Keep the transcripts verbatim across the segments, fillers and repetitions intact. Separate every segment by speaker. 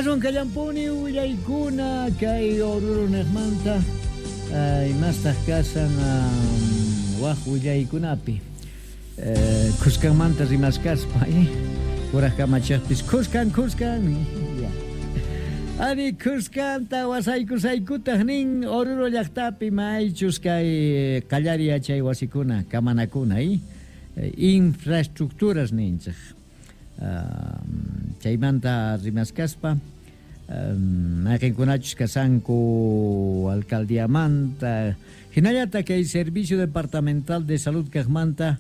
Speaker 1: Aswan kallampuni willaykuna kay Oruro niqmanta imastaq kasan waj willaykunapi khuskanmanta rimaskaspa kuraj kamachejpis khuskan khuskan ari khuskanta wasaykusaykutaq nin Oruro llaqtapi maychus kay qallari yachay wasikuna kamanakuna infraestructuras ninchej chaymanta rimaskaspa mayqinkunachus kasanku alcaldiamanta hinallata kay Servicio Departamental de Salud kaqmanta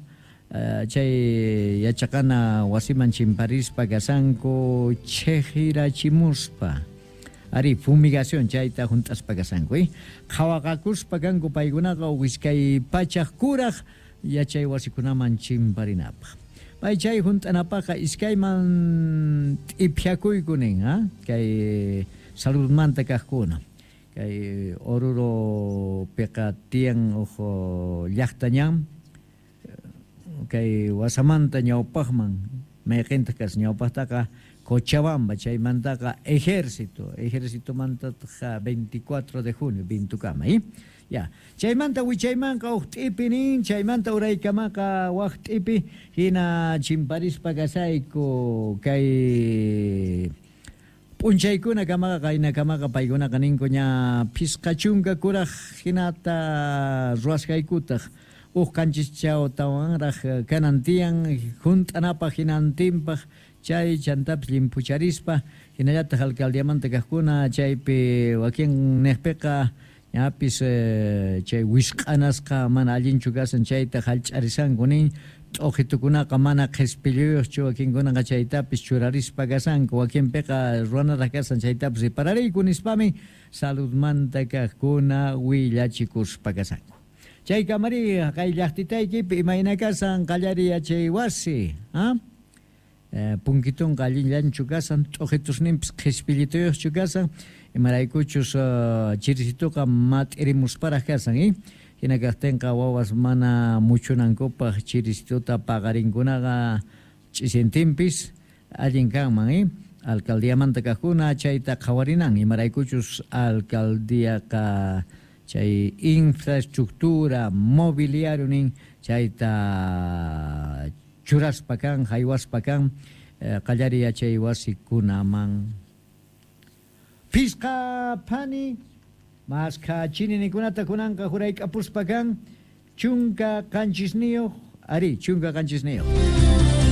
Speaker 1: chay yachaqana wasiman chimparispa kasanku chejirachimuspa ari fumigación chayta junt'aspa kasanku eh qhawaqakuspa kanku paykunaqa iskay pachaj kuraj yachay wasikunaman chimparinapaq pay chay junt'anapaqqa iskayman t'iphiakuyku nin ha kay saludmanta kaqkuna kay Oruro piqa tiyan uj llaqtañan kay wasamanta ñawpaqman mayqintaq kas ñawpaqtaqa Cochabamba chaymantaqa ejército ejércitomantaqa veinticuatro de junio bintukama eh ya chaymanta wichaymanqa uj t'ipi nin chaymanta uraykamaqa waj t'ipi hina chimparispa kasayku kay p'unchaykuna kamaqa qaynakamaqa paykunaqa ninku ña phisqa chunka kuraj hinata ruwasqaykutaq uj qanchischawtawanraj kanan tiyan junt'anapaq hinantinpaq chay chantapis llimpucharispa hinallataq alcaldiamanta kaqkuna chaypi wakin niqpiqa ñapis chay wisq'anasqa mana allinchu kasan chayta hallch'arisanku nin t'uqitukunaqa mana qhispilluyuqchu wakinkunaqa chaytapis churarispa kasanku wakinpiqa ruwanaraq kasan chaytapis riparariyku nispami saludmanta kaqkuna willachikuspa kasanku chay kamari kay llaqtitaykipi imayna kasan qallari yachay wasi ha punkitunqa allinllanchu kasan t'uqitusninpis qhispillituyuqchu kasan imaraykuchus chirisituqa mat'irimusparaq kasan eh hina kaqtinqa wawas mana muchunankupaq chirisituta paqarinkunaqa ch'isintinpis allin kanman eh alcaldiamanta kaqkuna chayta qhawarinan imaraykuchus alcaldiaqa chay infraestructura mobiliario nin chayta churaspa kan haywaspa kan qallari yachay wasikunaman phisqa phani maskha chininikunata kunanqa jurayk'apuspa kan chunka qanchisniyuq ari chunka qanchisniyuq.